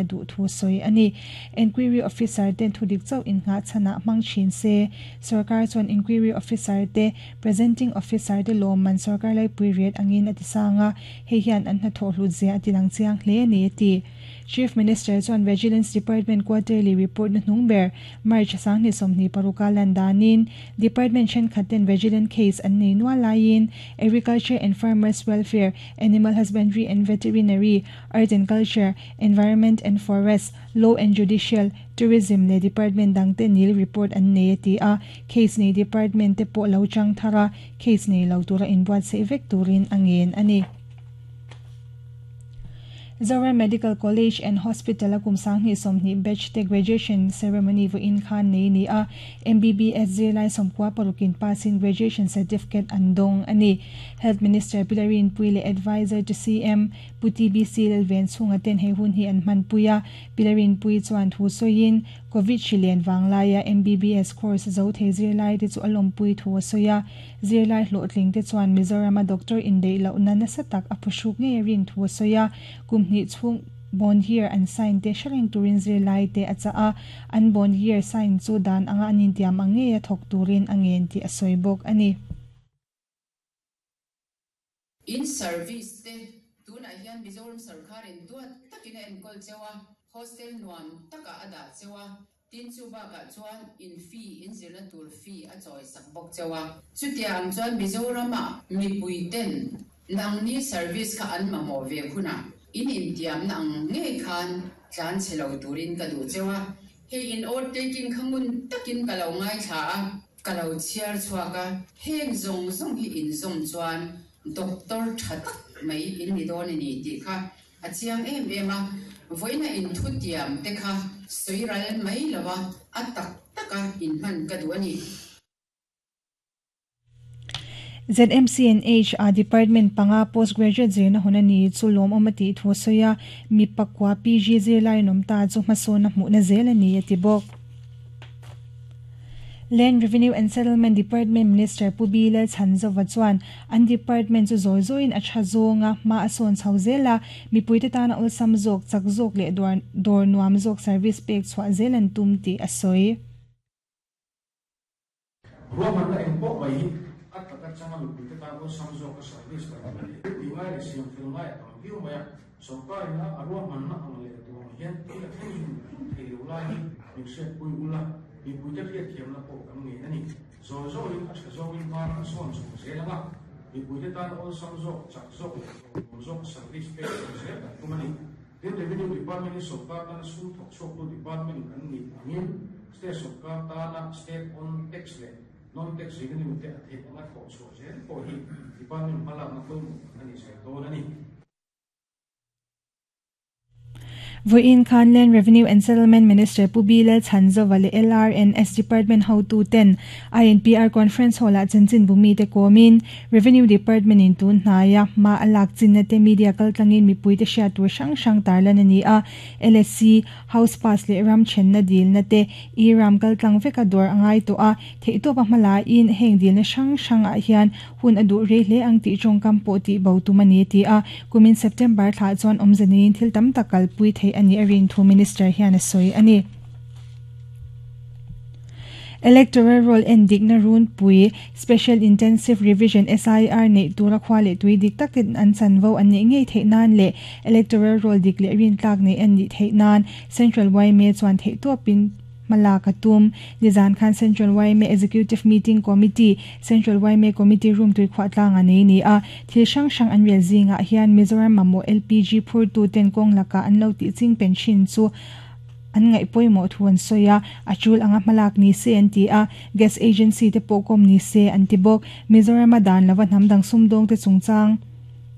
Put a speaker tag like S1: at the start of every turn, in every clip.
S1: duh thu sawi a ni. Enquiry Officer ten thudik chauh innghah chhanah hmang thin se. Sorkar chuan Enquiry Officer te, Presenting Officer te lawmman sorkar laipui rate angin a ti sang a, hei hian an hnathawh hlut zia a tilang chiang hle a ni a ti. Chief Minister chuan Vigilance Department Quarterly Report na hnung ber March 2026 a lan danin Department thenkhat ten Vigilant case an nei nual laiin Agriculture and Farmers Welfare, Animal Husbandry and Veterinary, Art and Culture, Environment and Forest, Law and Judicial, Tourism leh Department dangte nil report an nei a ti a, case nei Department te pawh lo chang thar a, case nei lo tura inbuatsaih vek turin a ngen a ni. Zoram Medical College and Hospital a kum 2020 batch te graduation ceremony vawiin khan nei ni a, MBBS zirlai 96 in pass in graduation certificate an dawng a ni. Health Minister Pi Larinpui leh Adviser to CM Pu TBC Lalven chhunga ten hei hun hi an hmanpui a, Pi Larinpui chuan thu sawiin Covid hri len vang laia MBBS course zo thei zirlai te chu a lawmpui thu a sawi a, zirlai hlawhtling te chuan Mizorama doctor indeih lohna nasa tak a phuhruk ngei a rin thu a sawi a, kum hnih chhung bond year an sign te hre reng turin zirlai te a chah a, an bond year sign chu dan anga an intiam ang ngeia thawk turin a ngen tih a sawi bawk a ni.
S2: In service te tunah hian Mizoram sarkarin duat takin a enkawl cheu a, hostel nuam takah a dah cheu a, tin chu bakah chuan in fee, in zirna tur fee a chawi sak bawk cheu a. Chutia ang chuan Mizoramah mipui ten nangni service kha an mamawh ve hunah in intiamna ang ngei khan tlan chhe lo turin ka duh cheu a. Hei in oath taking kha ngun takin ka lo ngaithla a. Ka lo chhiar chhuak a, heng zawng zawng hi inzawm chuan doctor tha tak mai in ni dawn a ni tih kha a chiang em em a, vawiina inthutiam te kha sawi ral mai lo a, a tak taka inhman ka duh a ni.
S1: ZMCNH a Department panga postgraduate zirna hun a ni chu lawmawm a tih thu a sawi a, mi pakua PG zirlai an awm ta chu hmasawn a hmuhna zel a ni a ti bawk. Land Revenue and Settlement Department Minister Pu B Lalchhanzova chuan an department chu zawi zawiin a tha zawng a, hma a sawn chho zel a, mipuite tana awlsam zawk, chak zawk leh dawr nuam zawk service pek chhuah zel an tum tih a sawi.
S3: Ruahmanna eng pawh mai hi a tak atanga mipuite tan awlsam zawka service kan tih leh tih ngai leh siam fel ngai a tam viau mai a, sorkarin a ruahmanna ang leh duh ang hian thil a thleng zung zung thei lo lai hi min hriatpui ula, mipuite hriatthiamna pawh kan ngei a ni. Zawi zawin a tha zawngin hma kan sawn chho zel ang a, mipuite tan awlsam zawk, chak zawk leh hlawhtlawm zawka service pek chho zel kan tum a ni. Tin, Revenue Department hi sorkar tana sum thawk chhuaktu department an nih angin state sorkar tana state own tax leh non-tax revenue te a theih anga thawh chhuah zel pawh hi department hmalakna pawimawh tak a ni zel dawn a ni.
S1: Vawiin khan Land Revenue and Settlement Minister Pu B Lalchhanzova leh LRNS Department hotuten INPR Conference Hall-ah chanchinbu mite kawmin Revenue Department in tun hnaia hma a lak chinna te media kaltlangin mipuite hriat tur hrang hrang tarlan a ni a, LSC, House Pass leh ram thenna dilna te e-ram kaltlang veka dawr a ngai tawh a, theihtawpa hma laiin heng dilna hrang hrangah hian hun a duh rei hle ang tih tawngkam pawh tih bo tum a ni a ti a, kumin September thlah chuan awmze neiin thil tam tak kalpui theih a nih a rin thu Minister hian a sawi a ni. Electoral Roll en dikna runpui, Special Intensive Revision, SIR, neih tura khua leh tui dik tak ten an chanvo an neih ngei theih nan leh Electoral Roll dik leh rintlak neih an nih theih nan Central yma chuan theihtawpin hma lak a tum. Nizan khan Central yma Executive Meeting Committee, Central yma Committee Room tuikhuah tlanga nei ni a, thil hrang hrang an rel zingah hian Mizoram mamawh LPG phurtu ten kawng lakah an lo tih ching pen thin chu an ngaih pawimawh thu an sawi a, a tul anga hmalak ni se an ti a, gas agency te pawh kawm ni se an ti bawk. Mizorama dan lova hnam dang sumdawngte chungchang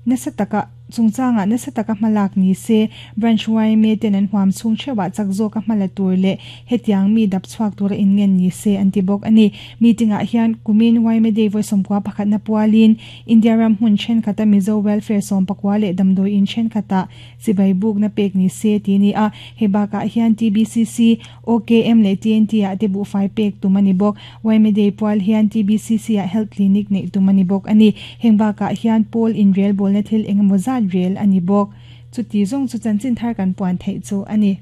S1: nasa taka chungchangah nasa taka hmalak ni se, branch yma ten an huam chhung theuhah chak zawka hmala tur leh hetiang mi dap chhuak tura inngen ni se an ti bawk a ni. Meeting ah hian kumin yma Day vawi 11 na pualin India ram hmun thenkhat a Mizo Welfare 14 leh damdawi in thenkhatah Chibai bukna pek ni se ti ni a, hei bakah hian TBCC, OKM leh TNT ah te buhfai pek tum a ni bawk. Yma Day pual hian TBCC ah Health Clinic neih tum a ni bawk a ni. Heng bakah hian pawl inrelbawlna thil engemaw zat rel a ni bawk. Chuti zawng chu chanchin thar kan puan theih chu a ni.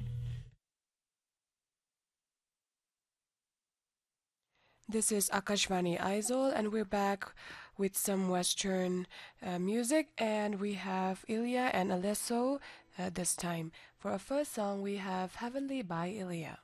S4: This is Akashvani Aizawl, and we're back with some Western music, and we have Ilya and Alesso this time. For our first song, we have Heavenly by Ilya.